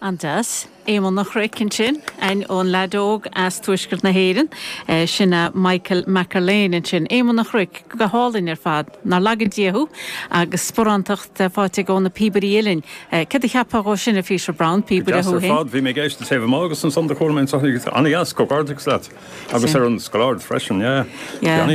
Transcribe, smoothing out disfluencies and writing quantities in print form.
An-deas. Éamonn an Chnoic ansin, ón leaid óg as tuaisceart na hÉireann. Sin é Michael McErlain ansin. Éamonn an Chnoic, go hálainn ar fad. Nár laga Dia thú agus sparántacht faighte aige ó na Píobairí Uilleann. Céard a cheapfá dhó sin, a Pheter Browne, píobaire thú féin? Go deas ar fad. Bhí mé ag éisteacht taobh amuigh agus ansan do chuala mé anso. An-dheas, comhghairdeachas leat. Agus ar an scoláire freisin, yeah. Yeah.